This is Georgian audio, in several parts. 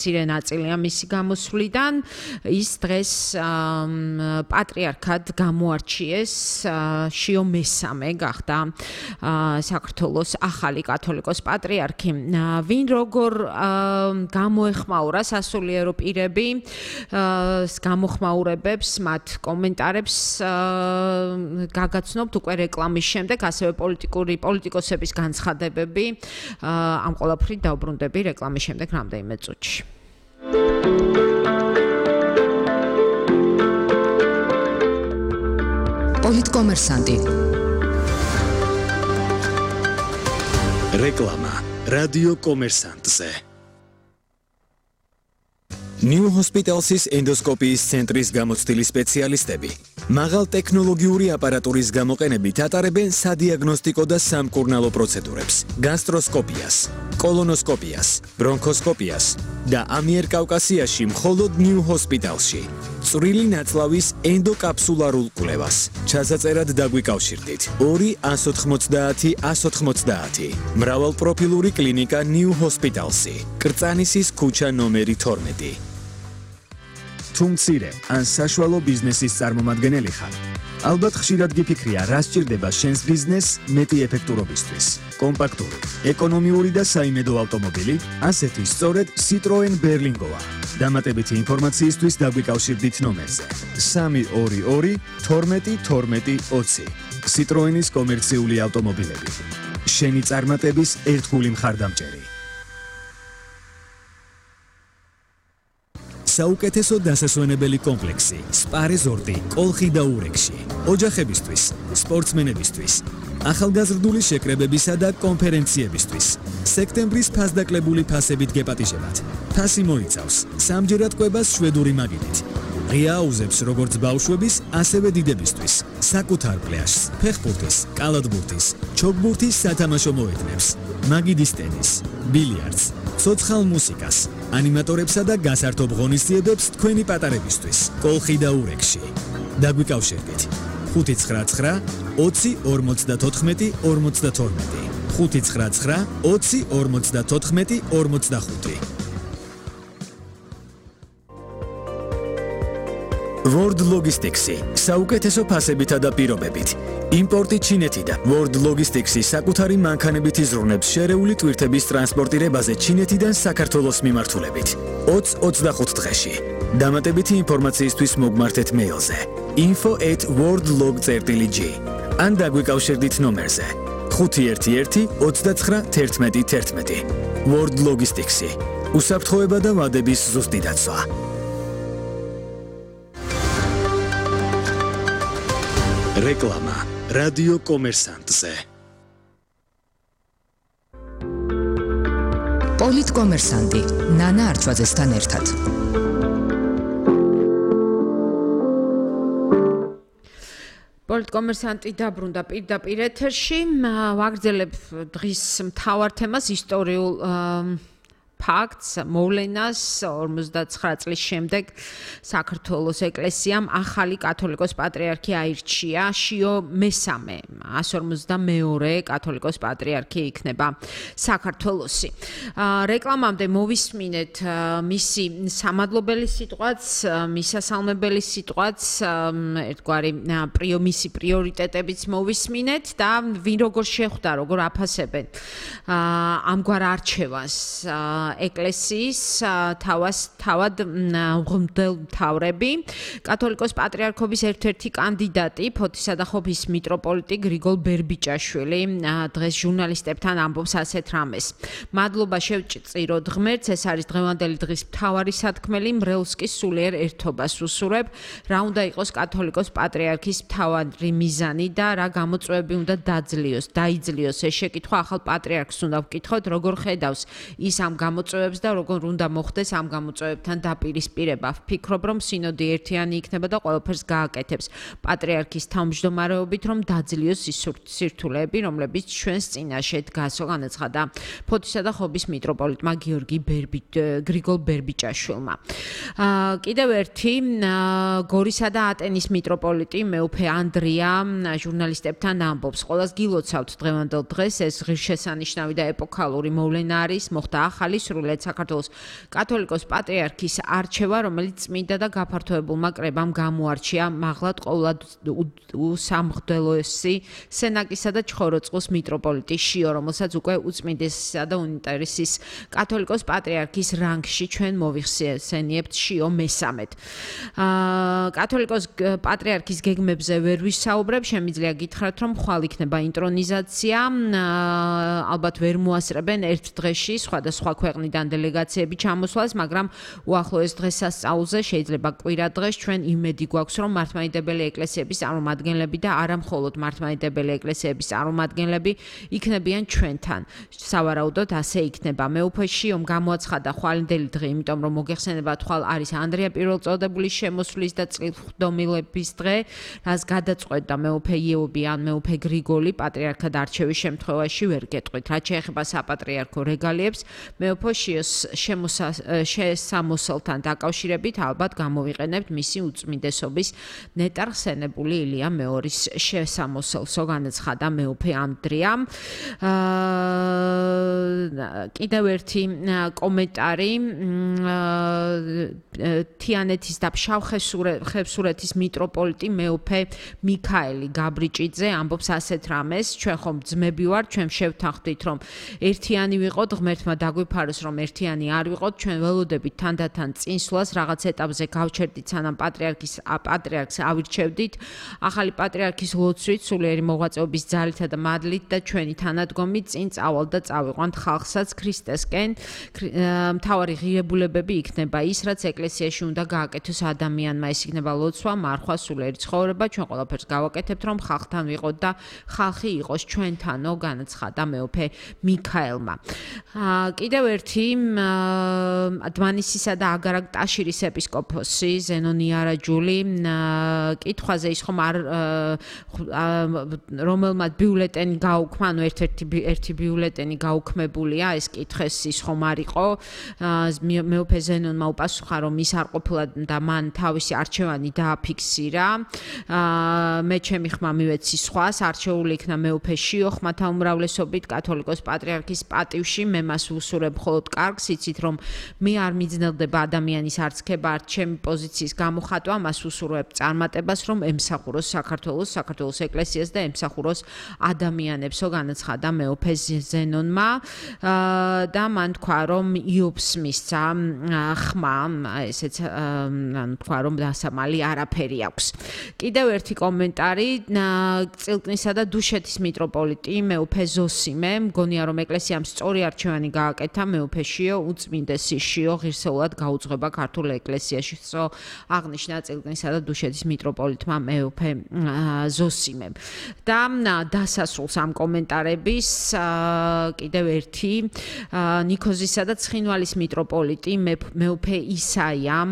მცირე ნაწილია მისი გამოსვლიდან ის დღეს პატრიარქად გამოარჩიეს შიო მესამე გახდა საქართველოს ახალი კათოლიკოს პატრიარქი ვინ როგორ გამოეხმაურა სასულიერო პირები გამოხმაურებებს მათ კომენტარებს გაგაცნობთ უკვე რეკლამის შემდეგ ასევე პოლიტიკოსების განცხადებები ამ ყველაფრით დავბრუნდები რეკლამის შემდეგ რამდენიმე წუთში პოლიტკომერსანტი რეკლამა რადიო კომერსანტზე New Hospitals's ენდოსკოპიის ცენტრის გამოცდილი სპეციალისტები მაღალ ტექნოლოგიური აპარატურის გამოყენებით ატარებენ სადიაგნოსტიკო და სამკურნალო პროცედურებს, გასტროსკოპიას, კოლონოსკოპიას, ბრონქოსკოპიას და ამიერკავკასიაში მხოლოდ New Hospitalsში. წვრილი ნაწლავის ენდოკაფსულარულ კვლევას. ჩასაწერად დაგვიკავშირდით 2-190-190. მრავალპროფილური კლინიკა New Hospitalsი. კრწანისის ქუჩა ნომერი 12. თუ მცირე ან საშუალო ბიზნესის წარმომადგენელი ხარ, ალბათ ხშირად გიფიქრია, რა სჭირდება შენს ბიზნესს მეტი ეფექტურობისთვის. კომპაქტური, ეკონომიური და საიმედო ავტომობილი, ასეთი სწორედ Citroen Berlingoა. დამატებითი ინფორმაციისთვის დაგვიკავშირდით ნომერზე 322 12 12 20. Citroenis კომერციული ავტომობილები. შენი წარმატების ერთგული მხარდამჭერი. საუკეთესო დასასვენებელი კომპლექსი სპა რეზორტი კოლხი და ურეკში ოჯახებისთვის სპორტსმენებისთვის ახალგაზრდული შეკრებებისა და კონფერენციებისთვის სექტემბრის ფასდაკლებული ფასებით გეპატიჟებათ ფასი მოიცავს სამჯერად კვებას შვედური მაგიდით ღია აუზებს როგორც ბავშვების ასევე დიდებისთვის საკუთარ პლაჟს ფეხბურთის კალათბურთის ჩოგბურთის სათამაშო მოედნებს მაგიდის ტენის ბილიარდს ცოცხალ მუსიკას ანიმატორებსა და გასართობ ღონისძიებებს თქვენი პატარებისთვის კოლხი და ურეკში დაგვიკავშირდით 599 20 54 52 599 20 54 55 World Logistics-ი საუკეთესო ფასებითა და პირობებით. იმპორტი ჩინეთიდან. World Logistics-ი საკუთარი მანქანებით იზრუნებს შერეული ტვირთების ტრანსპორტირებაზე ჩინეთიდან საქართველოს მიმართულებით. 20-25 დღეში. დამატებითი ინფორმაციისთვის მოგმართეთ მეილზე info@worldlog.g ან დაგვიკავშირდით ნომერზე 511 29 11 11. World Logistics-ი. უსაფრთხოება და ვადების ზუსტი დაცვა. რეკლამა რადიო კომერსანტზე პოლიტკომერსანტი ნანა არჩვაძესთან ერთად პოლიტკომერსანტი დაბრუნდა პირდაპირ ეთერში ვაგრძელებ დღის მთავარ თემას ისტორიულ ფაქტს მოვლენას 59 წლის შემდეგ საქართველოს ეკლესიამ ახალი კათოლიკოს პატრიარქი აირჩია შიო მესამე 152 კათოლიკოს პატრიარქი იქნება საქართველოსი რეკლამამდე მოვისმინეთ მისი სამადლობელი სიტყვაც მისასალმებელი სიტყვაც ერთგვარი მისი პრიორიტეტებიც მოვისმინეთ და ვინ როგორ შეხვდა როგორ აფასებენ ამგვარ არჩევას ეკლესიის თავად მღვდელმთავრები კათოლიკოს პატრიარქობის ერთ-ერთი კანდიდატი ფოთისა და ხობის მიტროპოლიტი გრიგოლ ბერბიჭაშვილი დღეს ჟურნალისტებთან ამბობს ასეთ რამეს მადლობა შევწიროთ ღმერთს ეს არის დღევანდელი დღის მთავარი სათქმელი მრევლსკის სულიერ ერთობას უსურებ რა უნდა იყოს კათოლიკოს პატრიარქის მთავარი მიზანი და რა გამოწვევები უნდა დაიძლიოს ეს შეკითხვა ახალ პატრიარქს უნდა ვკითხოთ როგორ ხედავს ის ამ გამოწვევებს და როგორ უნდა მოხდეს ამ გამოწვევებთან დაპირისპირება. ვფიქრობ, რომ სინოდი ერთიანი იქნება და ყველაფერს გააკეთებს პატრიარქის თავმჯდომარეობით, რომ დაძლიოს ის სირთულეები, რომლებიც ჩვენს წინაშე დგასო, განაცხადა ფოთისა და ხობის მიტროპოლიტმა გრიგოლ ბერბიჭაშვილმა. კიდევ ერთი გორისა და ატენის მიტროპოლიტი მეუფე ანდრია ჟურნალისტებთან ამბობს, ყველას გილოცავთ დღევანდელ დღეს ეს ღირსშესანიშნავი და ეპოქალური მოვლენა არის, მოხდა ახალი სრულიად საქართველოს კათოლიკოს პატრიარქის არჩევა, რომელიც წმინდა და გაფართოებულმა კრებამ გამოარჩია მაღლად ყოვლად უსამღდელოესი სენაკისა და ჩხოროწყუს მიტროპოლიტი შიო, რომელსაც უკვე უწმინდესისა და უნიტარისის კათოლიკოს პატრიარქის რანგში ჩვენ მოვიხსენიებთ შიო მესამედ. კათოლიკოს პატრიარქის გეგმებზე ვერ ვისაუბრებ, შემიძლია გითხრათ, რომ ხვალ იქნება ინტრონიზაცია, ალბათ ვერ მოასწრებენ ერთ დღეში სხვადასხვა ქვეყნიდან დელეგაციები ჩამოსვლას, მაგრამ უახლოეს დღესასწაულზე შეიძლება კვირა დღეს ჩვენ იმედი გვაქვს, რომ მართლმადიდებელი ეკლესიების წარმომადგენლები და არა მხოლოდ მართლმადიდებელი ეკლესიების წარმომადგენლები იქნებიან ჩვენთან. სავარაუდოდ ასე იქნება. მეუფე შიომ გამოაცხადა ხვალინდელი დღე, იმიტომ რომ მოგეხსენებათ, ხვალ არის ანდრია პირველწოდებულის შემოსვლის და წილხდომილების დღე, რაც გადაწყვეტდა მეუფე იეობი ან მეუფე გრიგოლი პატრიარქად არჩევის შემთხვევაში ვერ გეტყვით. რაც შეეხება საპატრიარქო რეგალიებს, მეუფე შიოს შესამოსელთან დაკავშირებით ალბათ გამოვიყენებთ მისი უწმინდესობის ნეტარხსენებული ილია მეორის შესამოსელსო, განაცხადა მეუფე ანდრიამ. კიდევ ერთი კომენტარი თიანეთის და ფშავ-ხევსურეთის მიტროპოლიტი მეუფე მიქაელი გაბრიჭიძე ამბობს ასეთ რამეს: ჩვენ ხომ ძმები ვართ, ჩვენ შევთანხმდით, რომ ერთიანი ვიყოთ, ღმერთმა დაგვიფაროს, რომ ერთიანი არ ვიყოთ, ჩვენ ველოდებით თანდათან წინსვლას, რაღაც ეტაპზე გავჩერდით, სანამ პატრიარქს ავირჩევდით. ახალი პატრიარქის ლოცვით, სულიერი მოღვაწეობის ძალითა და მადლით და ჩვენი თანადგომით წინ წავალ და წავიყვანთ ხალხსაც ქრისტესკენ. მთავარი ღირებულებები იქნება ის, რაც ეკლესიაში უნდა გააკეთოს ადამიანმა, ეს იქნება ლოცვა, მარხვა, სულიერი ცხოვრება. ჩვენ ყველაფერს გავაკეთებთ, რომ ხალხთან ვიყოთ და ხალხი იყოს ჩვენთანო, განაცხადა მეუფე მიქაელმა. კიდევ ერთი დმანისისა და აგარაკ-ტაშირის ეპისკოპოსი ზენონი არაჯული კითხვაზე ის ხომ არ რომელმაც ბიულეტენი გაუქმა, ანუ ერთი ბიულეტენი გაუქმებულია, ეს კითხეს ის ხომ არ იყო. მეუფე ზენონმა უპასუხა, რომ ის არ ყოფილა და მან თავისი არჩევანი დააფიქსირა. მე ჩემი ხმა მივეცი სხვას, არჩეული იქნა მეუფე შიო ხმათა უმრავლესობით კათოლიკოს პატრიარქის პატივში. მე მას ვუსურებ მხოლოდ კარგს, იცით რომ მე არ მიძნელდება ადამიანის არცქება, არც ჩემი პოზიციის გამოხატვა, მას ვუსურებ წარმატებას, რომ ემსახუროს საქართველოს ეკლესიას და ემსახუროს ადამიანებსო, განაცხადა მეუფე ზენონმა და მან თქვა, რომ იობს მისცა ხმა, ესეც თქვა, რომ დასამალი არაფერი აქვს. კიდევ ერთი კომენტარი წილკნისა და დუშეთის მიტროპოლიტი მეუფე ზოსიმე მგონია, რომ ეკლესიამ სწორი არჩევანი გააკეთა, მეუფე შიო უწმინდესი შიო ღირსეულად გაუძღვება ქართულ ეკლესიაში, აღნიშნა წილკნისა და დუშეთის მიტროპოლიტმა მეუფე ზოსიმემ. და დასასრულს ამ კომენტარების კიდევ ერთი ნიქოზისა და ცხინვალის მიტროპოლიტი მეუფე ისაიამ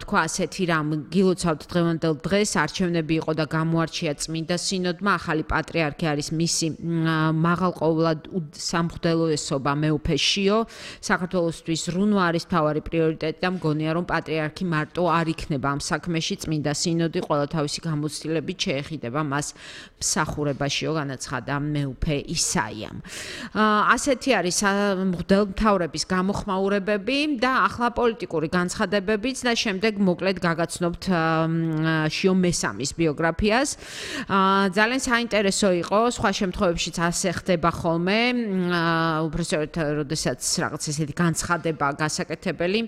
თქვა ასეთი რამ: გილოცავთ დღევანდელ დღეს, არჩევნები იყო და გამოარჩია წმინდა სინოდმა, ახალი პატრიარქი არის მისი მაღალყოვლად სამღვდელოესობა მეუფე შიო. საქართველოსთვის ზრუნვა არის მთავარი პრიორიტეტი და მგონია, რომ პატრიარქი მარტო არ იქნება ამ საქმეში, წმინდა სინოდი ყველა თავისი გამოცდილებით შეეხიდება მას მსახურებაშიო, განაცხადა მეუფე ისაიამ. ასეთი არის მღვდელმთავრების გამოხმაურებები და ახლა პოლიტიკური განცხადებებიც და შემდეგ მოკლედ გაგაცნობთ შიო მესამის ბიოგრაფიას. ძალიან საინტერესო იყო, სხვა შემთხვევებშიც ასე ხდება ხოლმე, უბრალოდ როდესაც რაღაც ესეთი განცხადება გასაკეთებელი,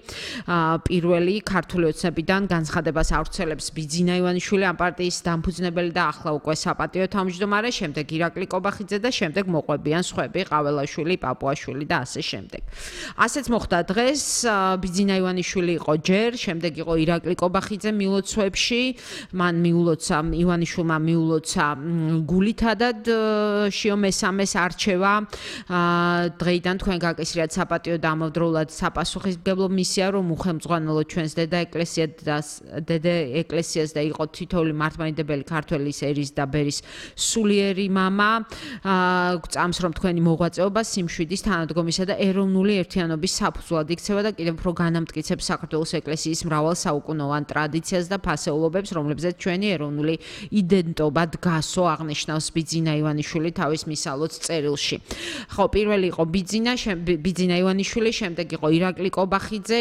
პირველი ქართული ოცნებიდან განცხადებას ავრცელებს ბიძინა ივანიშვილი, ამ პარტიის დამფუძნებელი და ახლა უკვე საპატიო თავმჯდომარე, შემდეგ ირაკლი კობახიძე და შემდეგ მოყვებიან სხვები, ყაველაშვილი, პაპუაშვილი და ასე შემდეგ. ასეც მოხდა დღეს, ბიძინა ივანიშვილი იყო ჯერ, შემდეგ იყო ირაკლი კობახიძე მილოცვებში, მან მიულოცა ივანიშვილმა მიულოცა გულითადად შიო მესამეს არჩევა. დღეიდან თქვენ გაკისრიათ საპატიო და ამავდროულად საპასუხისმგებლო მისია, რომ უხელმძღვანელოთ ჩვენს დედა ეკლესიას და იყო თითოეული მართლმადიდებელი ქართველის ერის და ბერის სულიერი მამა. გწამს, რომ თქვენი მოღვაწეობა სიმშვიდის, თანადგომისა და ეროვნული ერთიანობის საფუძვლად იქცევა და კიდევ უფრო განამტკიცებს საქართველოს ეკლესიის მრავალ საუკუნოვან ტრადიციას და ფასეულობებს, რომლებზეც ჩვენი ეროვნული იდენტობა დგასო, აღნიშნავს ბიძინა ივანიშვილი თავის მისალოც წერილში. ხო, პირველი იყო ბიძინა ბიძინა ივანიშვილი, შემდეგ იყო ირაკლი კობახიძე,